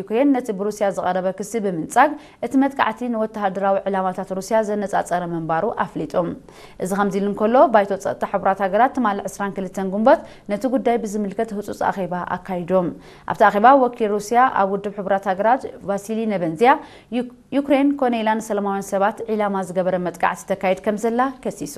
ዩክሬን ነቲ ብሩስያ ዝቐረበ ክሲ ብምንጻግ፣ እቲ መጥቃዕቲ ንወተሃደራዊ ዕላማታት ሩስያ ዘነጻጸረ ምንባሩ ኣፍሊጡ። እዚ ከምዚ ኢሉ እንከሎ፣ ባይቶ ጸጥታ ሕቡራት ሃገራት ትማሊ ዕስራን ክልተን ጉንበት ነቲ ጉዳይ ብዝምልከት ህጹጽ ኣኼባ ኣካይዱ። ኣብቲ ኣኼባ፣ ወኪል ሩስያ ኣብ ውድብ ሕቡራት ሃገራት ቫሲሊ ነበንዝያ፣ ዩ-፣ ዩክሬን ኮነ ኢላ ንሰላማውያን ሰባት ዒላማ ዝገበረ መጥቃዕቲ ተካይድ ከም ዘላ ከሲሱ።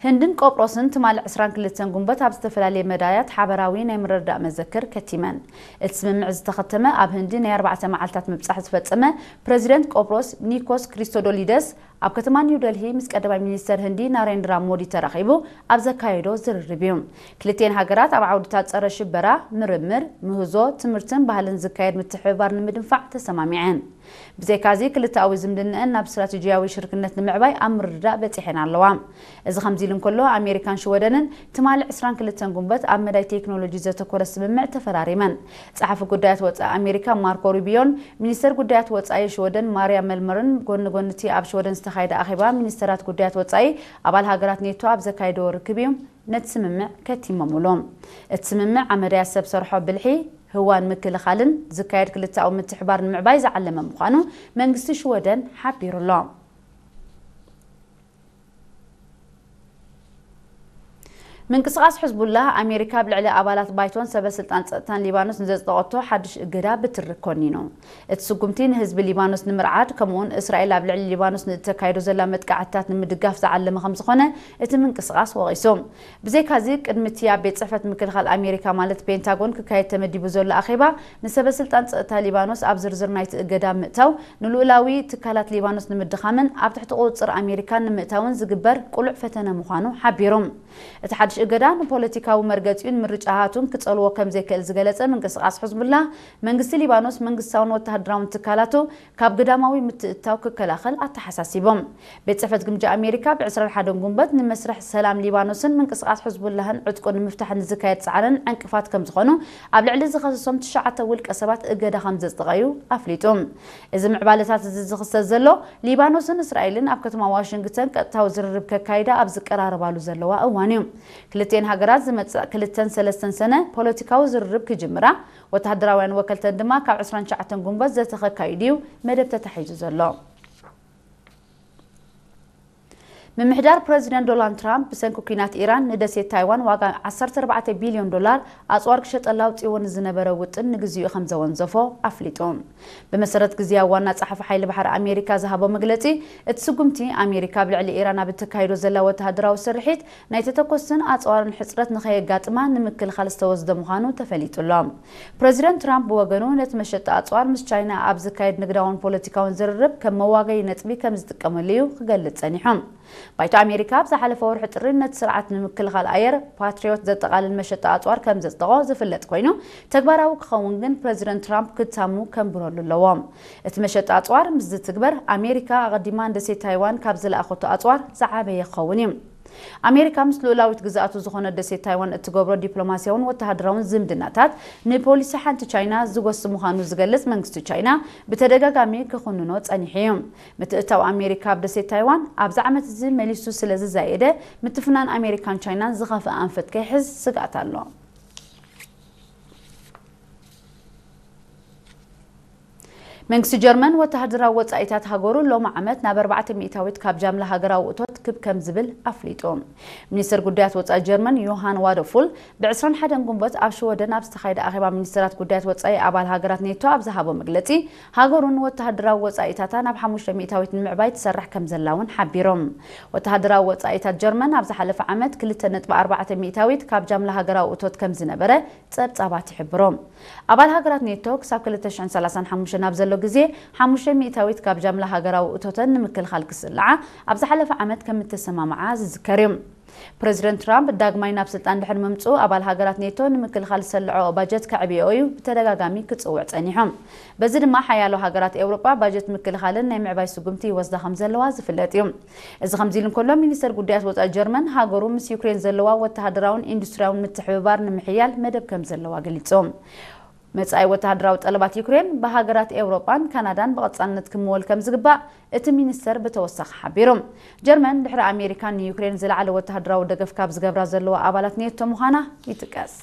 ህንድን ቆጵሮስን ትማሊ ዕስራን ክልተን ጉንበት ኣብ ዝተፈላለየ መዳያት ሓበራዊ ናይ ምርድዳእ መዘክር ከቲመን። እቲ ስምምዕ ዝተኸተመ ኣብ ህንዲ ናይ ኣርባዕተ መዓልታት ምብጻሕ ዝፈጸመ ፕረዚደንት ቆጵሮስ ኒኮስ ክሪስቶዶሊደስ ኣብ ከተማ ኒው ደልሂ ምስ ቀዳማይ ሚኒስተር ህንዲ ናሬንድራ ሞዲ ተራኺቡ ኣብ ዘካየዶ ዝርርብ እዩ። ክልቲኤን ሃገራት ኣብ ዓውድታት ጸረ ሽበራ፣ ምርምር፣ ምህዞ፣ ትምህርትን ባህልን ዝካየድ ምትሕብባር ንምድንፋዕ ተሰማሚዐን። ብዘይካዚ፣ ክልተኣዊ ዝምድናኣን ናብ ስትራቴጂያዊ ሽርክነት ንምዕባይ ኣብ ምርድዳእ በጺሐን ኣለዋ። እዚ ከምዚ ኢሉ እንከሎ፣ ኣሜሪካን ሽወደንን ትማሊ ዕስራን ክልተን ጉንበት ኣብ መዳይ ቴክኖሎጂ ዘተኮረ ስምምዕ ተፈራሪመን። ጸሓፊ ጉዳያት ወጻኢ ኣሜሪካ ማርኮ ሩቢዮን ሚኒስተር ጉዳያት ወጻኢ ሽወደን ማርያ መልመርን ጎኒ ጎኒ እቲ ኣብ ሽወደን ዝተኻየደ ኣኼባ ሚኒስተራት ጉዳያት ወጻኢ ኣባል ሃገራት ኔቶ ኣብ ዘካየድዎ ርክብ እዩ ነቲ ስምምዕ ከቲሞምሉ። እቲ ስምምዕ ኣብ መዳያት ሰብ ሰርሖ ብልሒ፣ ህዋን ምክልኻልን ዝካየድ ክልተኣዊ ምትሕባር ንምዕባይ ዝዓለመ ምዃኑ መንግስቲ ሽወደን ሓቢሩ ኣሎ። ምንቅስቓስ ሕዝቡላህ ኣሜሪካ ኣብ ልዕሊ ኣባላት ባይቶን ሰበ ስልጣን ጸጥታን ሊባኖስ ንዘጽደቐቶ ሓድሽ እገዳ ብትሪ ኮኒኑ። እቲ ስጉምቲ ንህዝቢ ሊባኖስ ንምርዓድ፣ ከምኡውን እስራኤል ኣብ ልዕሊ ሊባኖስ ንእተካይዶ ዘላ መጥቃዕትታት ንምድጋፍ ዝዓለመ ከም ዝኾነ እቲ ምንቅስቓስ ወቒሱ። ብዘይካዚ፣ ቅድሚ እቲ ኣብ ቤት ጽሕፈት ምክልኻል ኣሜሪካ ማለት ፔንታጎን ክካየድ ተመዲቡ ዘሎ ኣኼባ፣ ንሰበ ስልጣን ጸጥታ ሊባኖስ ኣብ ዝርዝር ናይቲ እገዳ ምእታው ንልኡላዊ ትካላት ሊባኖስ ንምድኻምን ኣብ ትሕቲ ቁጽጽር ኣሜሪካ ንምእታውን ዝግበር ቅሉዕ ፈተነ ምዃኑ ሓቢሩ። እቲ ሓድሽ እገዳ ንፖለቲካዊ መርገጺኡን ምርጫታቱን ክጸልዎ ከም ዘይክእል ዝገለጸ ምንቅስቓስ ሕዝቡላህ፣ መንግስቲ ሊባኖስ መንግስታውን ወተሃደራውን ትካላቱ ካብ ግዳማዊ ምትእትታው ክከላኸል ኣተሓሳሲቦም። ቤት ጽሕፈት ግምጃ ኣሜሪካ ብ ዕስራን ሓደን ጉንበት ንመስርሕ ሰላም ሊባኖስን ምንቅስቓስ ሕዝቡላህን ዕጥቁ ንምፍታሕ ንዝካየድ ጻዕርን ዕንቅፋት ከም ዝኾኑ ኣብ ልዕሊ ዝኸሰሶም ትሽዓተ ውልቀ ሰባት እገዳ ከም ዘጽደቐ እዩ ኣፍሊጡ። እዚ ምዕባለታት እዚ ዝኽሰት ዘሎ ሊባኖስን እስራኤልን ኣብ ከተማ ዋሽንግተን ቀጥታዊ ዝርርብ ከካይዳ ኣብ ዝቀራረባሉ ዘለዋ እዋን እዩ። ክልቲኤን ሃገራት ዝመጽእ ክልተን ሰለስተን ሰነ ፖለቲካዊ ዝርርብ ክጅምራ፣ ወተሃደራውያን ወከልተን ድማ ካብ ዕስራን ትሽዓተን ጉንበት ዘተ ከካይዱ እዩ መደብ ተታሒዙ ዘሎ። ምምሕዳር ፕረዚደንት ዶናልድ ትራምፕ ብሰንኪ ኲናት ኢራን ንደሴት ታይዋን ዋጋ ዓሰርተ ኣርባዕተ ቢልዮን ዶላር ኣጽዋር ክሸጠላ ኣውጺዎ ንዝነበረ ውጥን ንግዚኡ ከም ዘወንዘፎ ኣፍሊጡ። ብመሰረት ግዝያዊ ዋና ጸሓፊ ሓይሊ ባሕሪ ኣሜሪካ ዝሃቦ መግለጺ፣ እቲ ስጉምቲ ኣሜሪካ ኣብ ልዕሊ ኢራን ኣብ እተካይዶ ዘላ ወተሃደራዊ ስርሒት ናይ ተተኮስትን ኣጽዋርን ሕጽረት ንኸየጋጥማ ንምክልኻል ዝተወስደ ምዃኑ ተፈሊጡ ኣሎ። ፕረዚደንት ትራምፕ ብወገኑ፣ ነቲ መሸጣ ኣጽዋር ምስ ቻይና ኣብ ዝካየድ ንግዳውን ፖለቲካውን ዝርርብ ከም መዋገዪ ነጥቢ ከም ዝጥቀመሉ እዩ ክገልጽ ጸኒሑ። ባይቶ ኣሜሪካ ኣብ ዝሓለፈ ወርሒ ጥሪ ነቲ ስርዓት ንምክልኻል ኣየር ፓትሪዮት ዘጠቓልል መሸጣ ኣጽዋር ከም ዘጽደቖ ዝፍለጥ ኮይኑ፣ ተግባራዊ ክኸውን ግን ፕረዚደንት ትራምፕ ክታሙ ከንብረሉ ኣለዎ። እቲ መሸጣ ኣጽዋር ምስ ዝትግበር፣ ኣሜሪካ ኣቐዲማ ንደሴት ታይዋን ካብ ዝለኣኸቶ ኣጽዋር ዝዓበየ ክኸውን እዩ። ኣሜሪካ ምስ ልኡላዊት ግዝኣቱ ዝኾነት ደሴት ታይዋን እትገብሮ ዲፕሎማስያውን ወተሃደራውን ዝምድናታት ንፖሊሲ ሓንቲ ቻይና ዝጎሲ ምዃኑ ዝገልጽ መንግስቲ ቻይና ብተደጋጋሚ ክኹንኖ ጸኒሑ እዩ። ምትእታው ኣሜሪካ ኣብ ደሴት ታይዋን ኣብዚ ዓመት እዚ መሊሱ ስለ ዝዛየደ፣ ምትፍናን ኣሜሪካን ቻይናን ዝኸፍአ ኣንፈት ከይሕዝ ስግኣት ኣሎ። መንግስቲ ጀርመን ወተሃደራዊ ወጻኢታት ሃገሩ ሎሚ ዓመት ናብ ኣርባዕተ ሚእታዊት ካብ ጃምላ ሃገራዊ እቶት ክብ ከም ዝብል ኣፍሊጡ። ሚኒስትር ጉዳያት ወጻኢ ጀርመን ዮሃን ዋደፉል ብ ዕስራን ሓደን ጉንበት ኣብ ሽወደን ኣብ ዝተኻየደ ኣኼባ ሚኒስትራት ጉዳያት ወጻኢ ኣባል ሃገራት ኔቶ ኣብ ዝሃቦ መግለጺ፣ ሃገሩ ንወተሃደራዊ ወጻኢታታ ናብ ሓሙሽተ ሚእታዊት ንምዕባይ ትሰርሕ ከም ዘላ እውን ሓቢሮም። ወተሃደራዊ ወጻኢታት ጀርመን ኣብ ዝሓለፈ ዓመት ክልተ ነጥቢ ኣርባዕተ ሚእታዊት ካብ ጃምላ ሃገራዊ እቶት ከም ዝነበረ ጸብጻባት ይሕብሩ። ኣባል ሃገራት ኔቶ ክሳብ ክልተ ሽሕን ሰላሳን ሓሙሽተን ኣብ ዘሎ ግዜ ሓሙሽተ ሚእታዊት ካብ ጃምላ ሃገራዊ እቶተን ንምክልኻል ክስልዓ ኣብ ዝሓለፈ ዓመት ከም እተሰማምዓ ዝዝከር እዩ። ፕረዚደንት ትራምፕ ዳግማይ ናብ ስልጣን ድሕሪ ምምጽኡ ኣባል ሃገራት ኔቶ ንምክልኻል ዝሰልዐኦ ባጀት ከዕብየኦ እዩ ብተደጋጋሚ ክጽውዕ ጸኒሑ። በዚ ድማ ሓያሎ ሃገራት ኤውሮጳ ባጀት ምክልኻልን ናይ ምዕባይ ስጉምቲ ይወስዳ ከም ዘለዋ ዝፍለጥ እዩ። እዚ ከምዚ ኢሉ እንከሎ፣ ሚኒስተር ጉዳያት ወጻኢ ጀርመን ሃገሩ ምስ ዩክሬን ዘለዋ ወተሃደራውን ኢንዱስትሪያውን ምትሕብባር ንምሕያል መደብ ከም ዘለዋ ገሊጹ። መጻኢ ወተሃደራዊ ጠለባት ዩክሬን ብሃገራት ኤውሮጳን ካናዳን ብቐጻልነት ክምወል ከም ዝግባእ እቲ ሚኒስተር ብተወሳኺ ሓቢሩ። ጀርመን ድሕሪ ኣሜሪካ ንዩክሬን ዝለዓለ ወተሃደራዊ ደገፍ ካብ ዝገብራ ዘለዋ ኣባላት ኔቶ ምዃና ይጥቀስ።